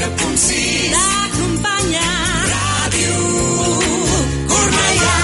4.6 t'acompanya Ràdio Cornellà.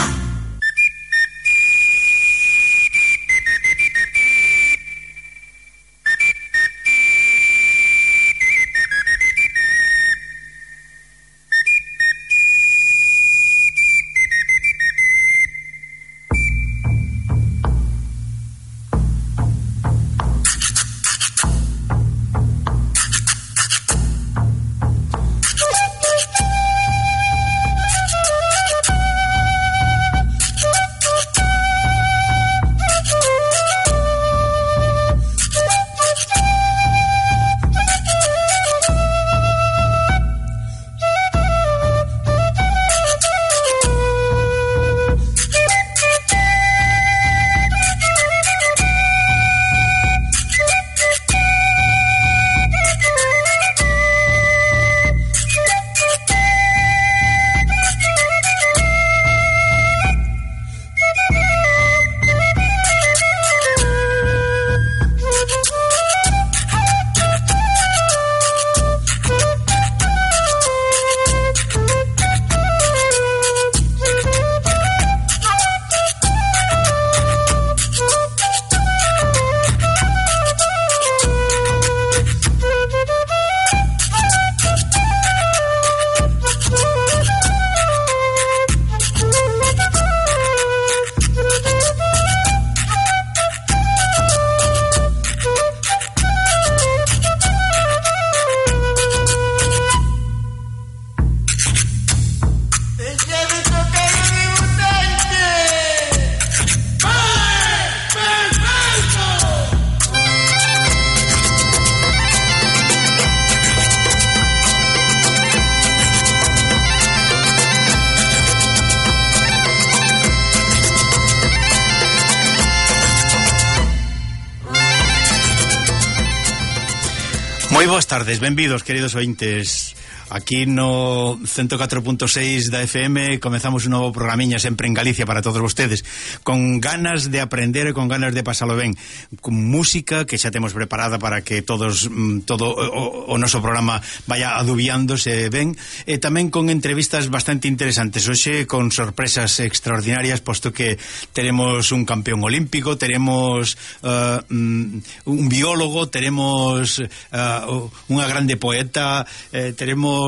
Moi boas tardes, benvidos, queridos ointes. Aquí no 104.6 da FM comezamos un novo programiña sempre en Galicia para todos vostedes, con ganas de aprender e con ganas de pasalo ben, con música que xa temos preparada para que todo o noso programa vaya adubiándose ben, e tamén con entrevistas bastante interesantes. Hoxe con sorpresas extraordinarias, posto que teremos un campeón olímpico, teremos un biólogo, teremos unha grande poeta, teremos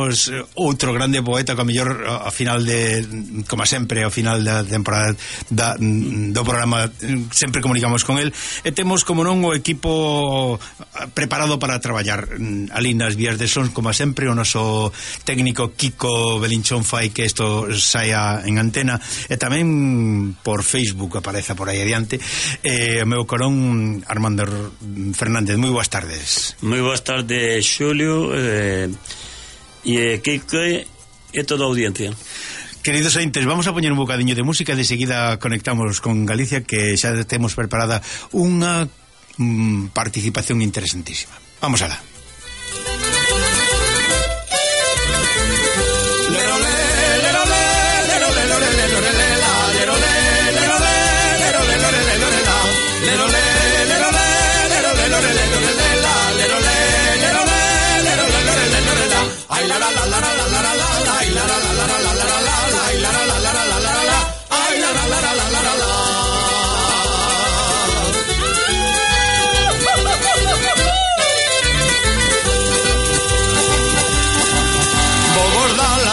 outro grande poeta que a mellor ao final de, como sempre, ao final da temporada do programa sempre comunicamos con el, e temos como non o equipo preparado para traballar ali nas vías de sons, como sempre o noso técnico Kiko Belinchón fai que isto saia en antena, e tamén por Facebook apareza por aí adiante o meu corón Armando Fernández. Moi boas tardes. Moi boas tardes, Xulio, e Kiko e toda a audiencia. Queridos ointes, vamos a poñer un bocadiño de música, de seguida conectamos con Galicia, que xa temos preparada unha participación interesantísima. Vamos alá.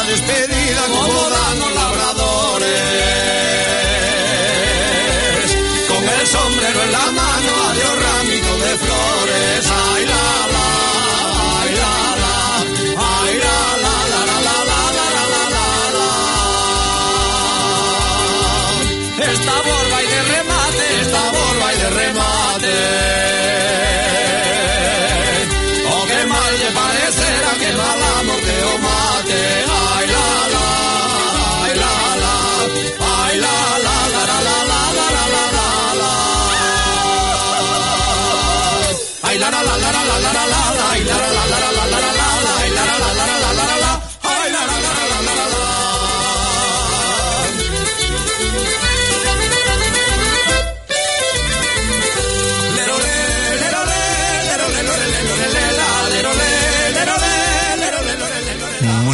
Despedida como dan los labradores, con el sombrero en la mano, adiós ramito de flores. Ay la la, ay la la, ay la la la la la la la la la. Esta borba y de remate, esta borba y de remate. Oh, qué mal le parecerá que mal amor te o mate.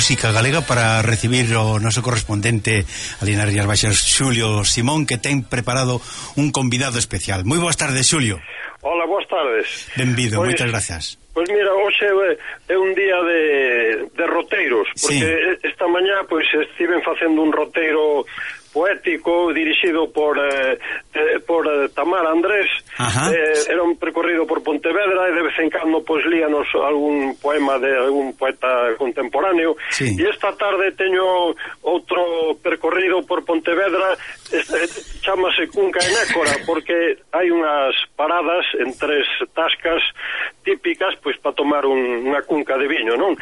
música galega para recibir o noso correspondente ali nas Rías Baixas, Xulio Simón, que ten preparado un convidado especial. Moi boas tardes, Xulio. Hola, boas tardes. Benvido, moitas gracias. Pois mira, hoxe é un día de roteiros, porque esta mañá pois estiven facendo un roteiro poético dirixido por Tamara Andrés. Era un percorrido por Pontevedra e de vez en cando pois líanos algún poema de algún poeta contemporáneo. E esta tarde teño outro percorrido por Pontevedra, chamase Cunca e Nécora, porque hai unhas paradas en 3 tascas típicas pois para tomar unha cunca de viño, non?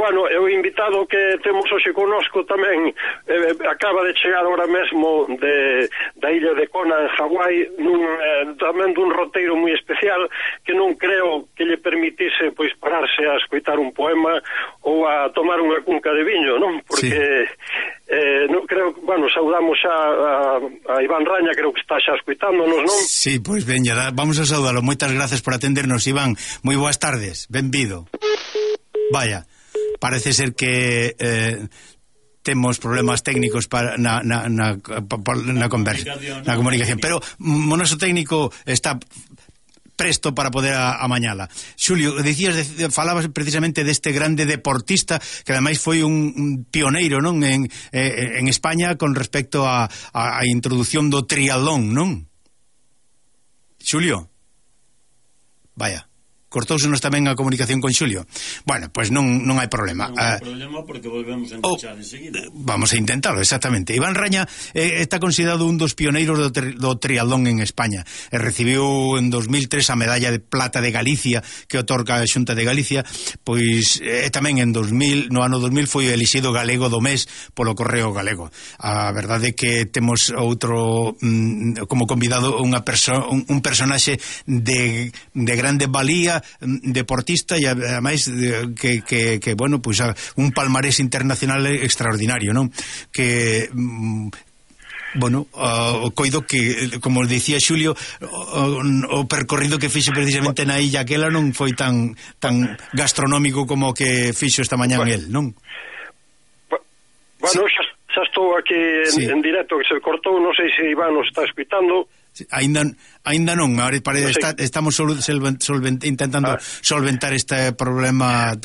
Bueno, o invitado que temos hoxe connosco tamén acaba de chegar agora mesmo da illa de Kona en Hawái, tamén dun roteiro moi especial que non creo que lle permitise pois pararse a escoitar un poema ou a tomar unha cunca de viño, non? Porque non creo, bueno, saudamos xa a Iván Raña, creo que está xa escoitándonos, non? Sí, pois veña, vamos a saudalo. Moitas gracias por atendernos, Iván. Moi boas tardes, benvido. Vaya, parece ser que temos problemas técnicos para na conversa, na comunicación, pero o noso técnico está presto para poder amañala. Xulio, falabas precisamente deste grande deportista que ademais foi un pioneiro, non, en España con respecto a introdución do triatlón, non? Xulio? Vaya, cortousenos tamén a comunicación con Xulio. Bueno, pois non hai problema. Non hai problema porque volvemos a enganchar enseguida. Vamos a intentarlo, exactamente. Iván Raña está considerado un dos pioneiros do triatlón en España. Recibiu en 2003 a medalla de plata de Galicia que otorga a Xunta de Galicia, pois tamén no ano 2000 foi elixido galego do mes polo Correo Galego. A verdade é que temos outro como convidado un personaxe de grande valía, deportista e ademais que bueno, pois un palmarés internacional extraordinario, non? Que bueno, coido que, como dicía Xulio, o percorrido que fixo precisamente na illa aquela non foi tan gastronómico como que fixo esta mañá el, non? Bueno, xa estou aquí en directo, que se cortou, non sei se Iván nos está escuitando. Ainda non, estamos intentando solventar este problema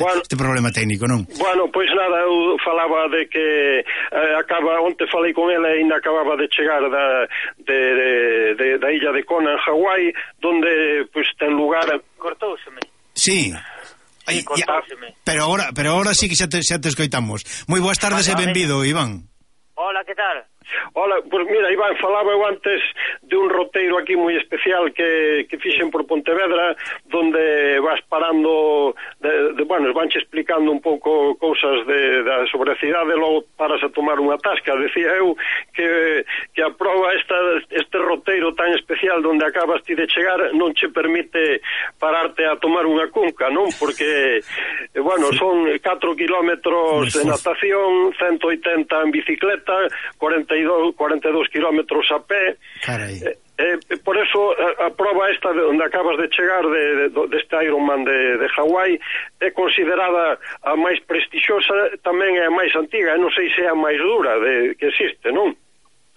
técnico, non? Bueno, pois nada, eu falaba de que onte falei con ela e ainda acababa de chegar da illa de Kona en Hawái, donde pois ten lugar... Cortouseme. Sí. Pero agora sí que xa te escoitamos. Moi boas tardes e benvido, Iván. Hola, que tal? Hola, pois mira, Iván, falaba eu antes de un roteiro aquí moi especial que fixen por Pontevedra, donde vas parando bueno, vanche explicando un pouco cousas sobre a cidade, logo paras a tomar unha tasca. Decía eu que a proba este roteiro tan especial donde acabas ti de chegar non che permite pararte a tomar unha cunca, non? Porque bueno, son 4 kilómetros de natación, 180 en bicicleta, 42 kilómetros a pé. Por eso a prova esta onde acabas de chegar deste Ironman de Hawái é considerada a máis prestixiosa, tamén é a máis antiga, non sei se é a máis dura que existe, non?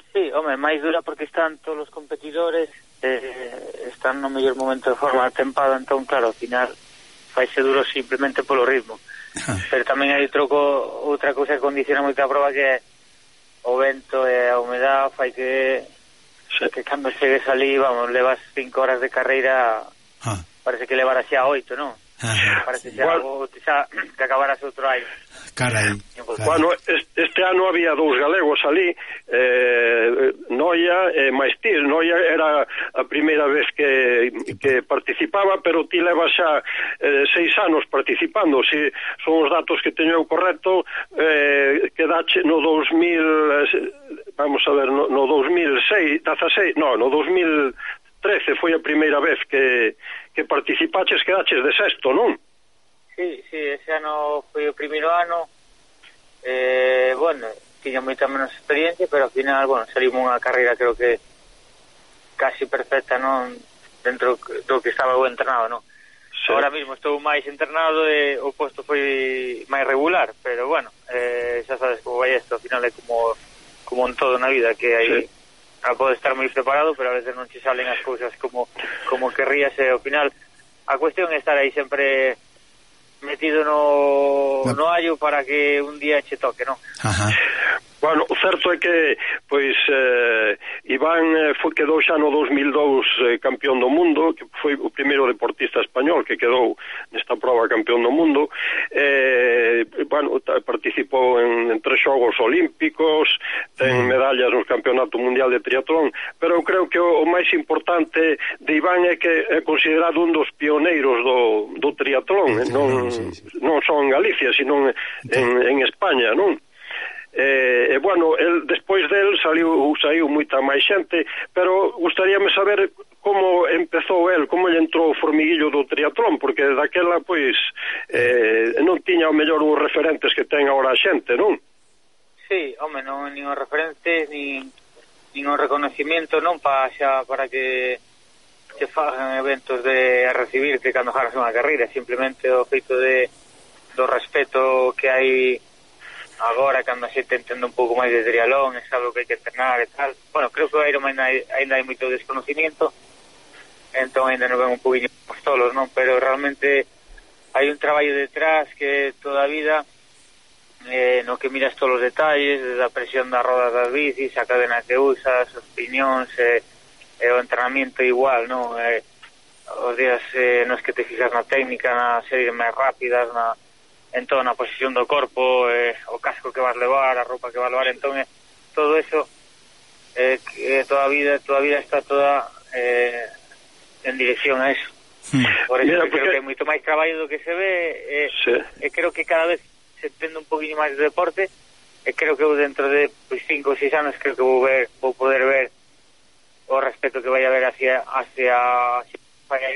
Sí, home, máis dura porque están todos os competidores están no mellor momento de forma da tempada, entón claro, ao final faise duro simplemente polo ritmo. Pero tamén hai outra cousa que condiciona moito a prova, que é o vento e a humedad, fai que cando chegues ali, vamos, levas 5 horas de carreira, parece que levaras xa 8, non? Parece xa que acabaras outro año. Carai. Bueno, este ano había 2 galegos ali, Noia e Maestir. Noia era a primeira vez que participaba, pero ti levas xa 6 anos participando. Si son os datos que teño eu correcto, quedache no 2000, vamos a ver, no 2006, no 2013 foi a primeira vez que participaches, quedaches de sexto, non? Sí, ese ano foi o primeiro ano, bueno, tiña moita menos experiencia, pero ao final, bueno, salimos unha carreira creo que casi perfecta, non, dentro do que estaba eu entrenado, non? Ahora mismo estou máis internado e o posto foi máis regular, pero bueno, xa sabes como vai isto, ao final é como en todo na vida, que hai pode estar moi preparado, pero a veces non che salen as cousas como querrías, e ao final a cuestión é estar aí sempre metido no allo para que un día che toque, non? Ajá. Bueno, o certo é que pois Iván quedou xa no 2002 campeón do mundo, que foi o primeiro deportista español que quedou nesta prova campeón do mundo. Bueno, participou en 3 xogos olímpicos, ten medallas no Campeonato Mundial de Triatlón, pero eu creo que o máis importante de Iván é que é considerado un dos pioneiros do triatlón, non só en Galicia, sino en España, non? Bueno, despois del saiu moita máis xente, pero gustaríame saber como empezou como lle entrou o formiguillo do triatlón, porque daquela pois non tiña o mellor os referentes que ten agora a xente, non? Sí, home, non nin os referentes nin o reconocimiento non para que se fagan eventos de recibirte cando ganas unha carreira, simplemente o feito do respeto que hai agora cando a xente entende un pouco máis de triatlón, é sabe o que hai que entrenar e tal. Bueno, creo que o Ironman ainda hai moito desconocimiento, entón ainda non ven un poquinho os tolos, non? Pero realmente hai un traballo detrás que toda a vida no que miras todos os detalles, desde a presión das rodas das bicis, a cadena que usas, os piñóns, o entrenamiento igual, non? Os días nos que te fijas na técnica, nas series máis rápidas, en toda na posición do corpo, o casco que vas levar, a roupa que vas levar, entón todo eso toda a vida está toda en dirección a eso. Por eso creo que é moito máis traballo do que se ve, e creo que cada vez se entende un poquinho máis de deporte, e creo que eu dentro de 5 ou 6 anos creo que vou poder ver o respeto que vai haber hacia porque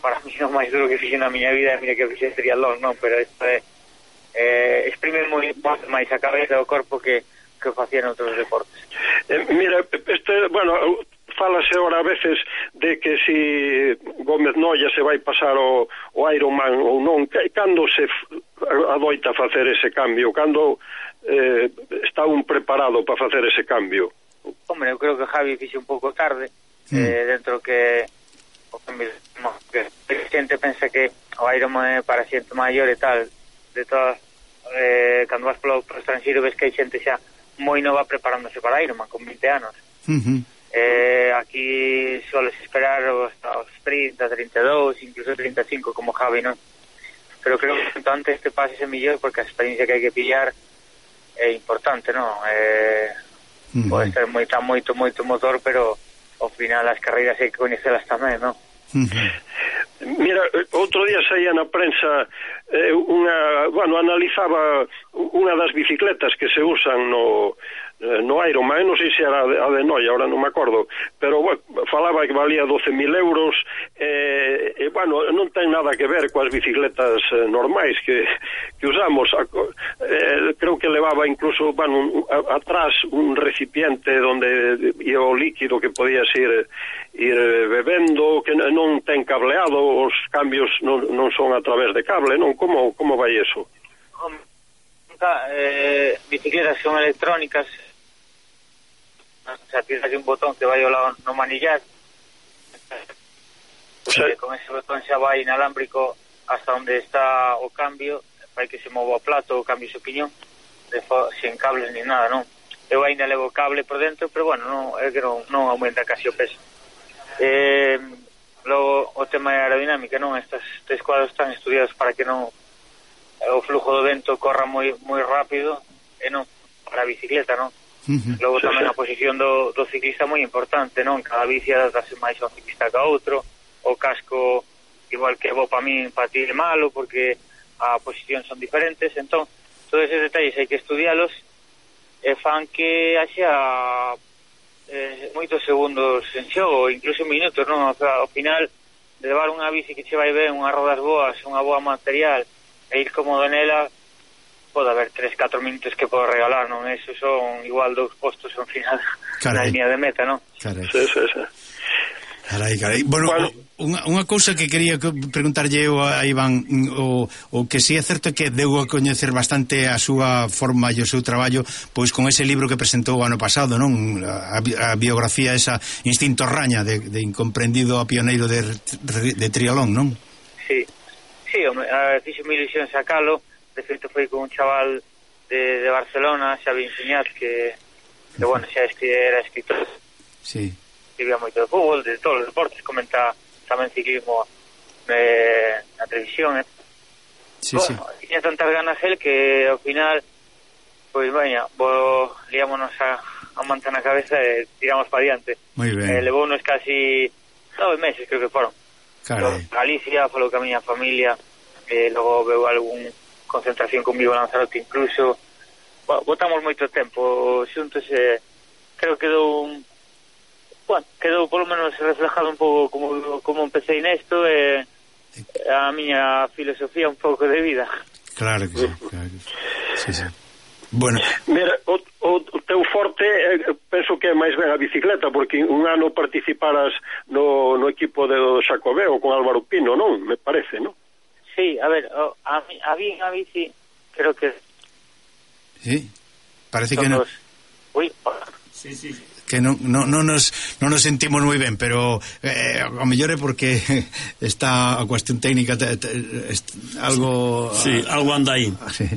para mí o máis duro que fixe na miña vida é mira que fixe triatlón, non? Pero isto exprime máis a cabeza e o corpo que facía en outros deportes. Mira, bueno, fálase ahora a veces de que si Gómez Noia se vai pasar o Ironman ou non, cando se adoita facer ese cambio, cando está un preparado para facer ese cambio? Hombre, eu creo que Javi fixe un pouco tarde, dentro que a xente pensa que o Ironman é para xente maior e tal, de todas cando vas polo estranxeiro ves que hai xente xa moi nova preparándose para Ironman con 20 anos. Aquí soles esperar hasta os 30, 32, incluso 35 como Javi, non? Pero creo que cuanto antes te pases é mellor, porque a experiencia que hai que pillar é importante, non? Pode ser moito motor, pero ao final as carreiras hai que coñecelas tamén, non? Mira, outro día saía na prensa analizaba unha das bicicletas que se usan no Ironman, non sei se era a de Noia, ahora non me acordo, pero falaba que valía 12.000 euros, non ten nada que ver coas bicicletas normais que usamos. Creo que levaba incluso atrás un recipiente onde ia o líquido que podías ir bebendo, que non ten cableado, os cambios non son a través de cable, non? Como vai eso? Bicicletas son electrónicas, se tiras un botón que vai ao lado no manillar, con ese botón xa vai inalámbrico hasta onde está o cambio, vai que se mova o plato, o cambio o piñón, sin cables ni nada, non? Eu ainda levo cable por dentro, pero bueno, é que non aumenta casi o peso. Logo o tema de aerodinámica, non? Estes 3 cuadros están estudiados para que non o flujo do vento corra moi rápido, e non para a bicicleta, non? Logo tamén a posición do ciclista moi importante, non? Cada bici adaptase máis ao ciclista que a outro, o casco igual que para ti é malo porque a posición son diferentes, entón todos esos detalles hai que estudialos e fan que haxa moitos segundos en xogo, incluso minutos, non? O sea, ao final de levar unha bici que che vai ben, unhas rodas boas, unha boa material e ir cómodo nela, pode haber 3-4 minutos que podo regalar, non? Eso son igual 2 postos ao final na línea de meta, non? Sí. Carai. Bueno, unha cousa que quería preguntarlle eu a Iván, o que si é certo é que deu a coñecer bastante a súa forma e o seu traballo pois con ese libro que presentou o ano pasado, non? A biografía esa Instinto Raña de incomprendido a pioneiro de triatlón, non? Sí, fixo mi ilusión sacalo. De feito foi con un chaval de Barcelona, Xavi Enseñat, que bueno, xa era escritor. Sí. Escribía moito de fútbol, de todos os deportes, comenta tamén ciclismo na televisión. Sí, bueno, tiña tantas ganas él que ao final pois liámonos a manta na cabeza e tiramos para diante. Moi ben. Levounos casi 9 meses, creo que foron. Galicia, falou que a miña familia, logo veu algún concentración conmigo en Lanzarote incluso. Botamos moito tempo xuntos e creo que quedou por lo menos reflejado un pouco como empecé nesto e a miña filosofía un pouco de vida. Claro que sí. Sí. Bueno, mira, o teu forte penso que é máis ben a bicicleta, porque un ano participaras no equipo do Xacobeo con Álvaro Pino, non? Me parece, non? Sí, a ver, a bici creo que... Sí, parece que non... Uy, sí. Que non nos sentimos moi ben, pero a mellor é porque está a cuestión técnica algo... Sí, algo anda aí. Sí.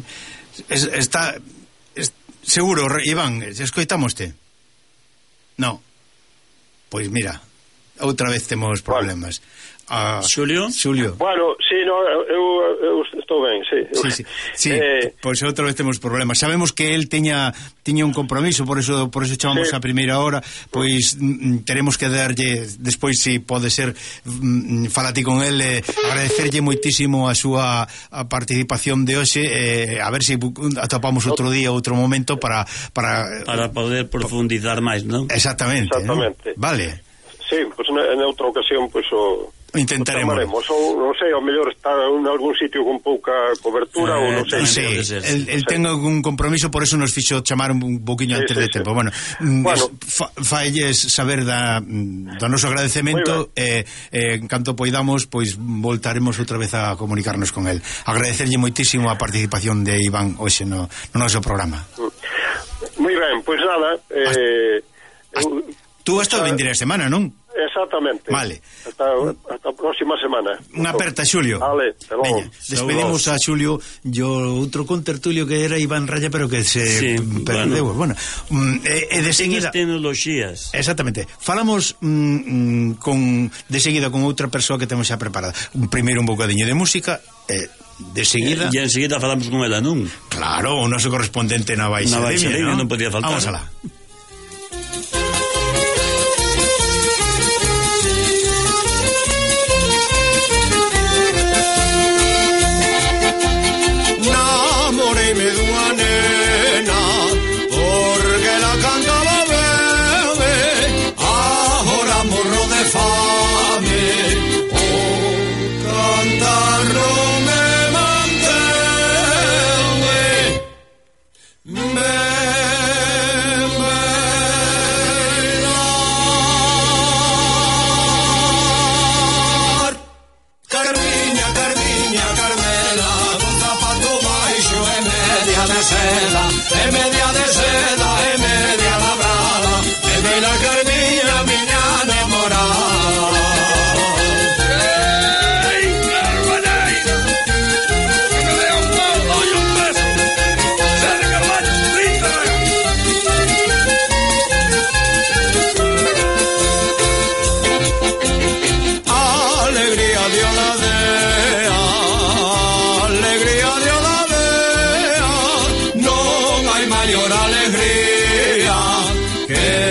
Está... Seguro, Iván, escoitamoste? No. Pois mira, outra vez temos problemas. Xulio? Bueno, sí, no, eu estou ben, sí. Sí, pois outra vez temos problemas. Sabemos que el tiña un compromiso, por eso chamamos a primeira hora, pois teremos que darlle despois, se pode ser, falati con el, agradecerlle moitísimo a súa participación de hoxe, a ver se atopamos outro día, outro momento para poder profundizar máis, non? Exactamente. ¿no? Vale. Sí, pois en outra ocasión pois intentaremos. Ou non sei, ao mellor está en algún sitio con pouca cobertura ou non sei. Sí, el ten algún compromiso, por eso nos fixo chamar un poquinho antes de tempo. Bueno, failles saber do noso agradecemento en canto poidamos, pois voltaremos outra vez a comunicarnos con el. Agradecerlle moitísimo a participación de Iván hoxe no noso programa. Moi ben, pois nada, tú vas a venir a semana, non? Exactamente. Vale. Hasta a próxima semana. Unha aperta, Xulio. Vale, veña, despedimos a Xulio e outro contertulio que era Iván Raya, pero que se perdeu. Bueno, de seguida tecnoloxías. Exactamente. Falamos de seguida con outra persoa que temos xa preparada. Primeiro un bocadiño de música de seguida... E enseguida falamos con ela, non? Claro, o noso correspondente na Baixa Limia, non podía faltar. Vamos alá. Namoreime dunha nena porque la cantaba bebe, agora morro de fame, o cantar non me mantén. Carmiña, Carmela, con zapato baixo e media de seda, e media de seda, e media labrada, e vela Carmiña, miña namorada. Alegría de Oladea, alegría de Oladea, non hai maior alegría que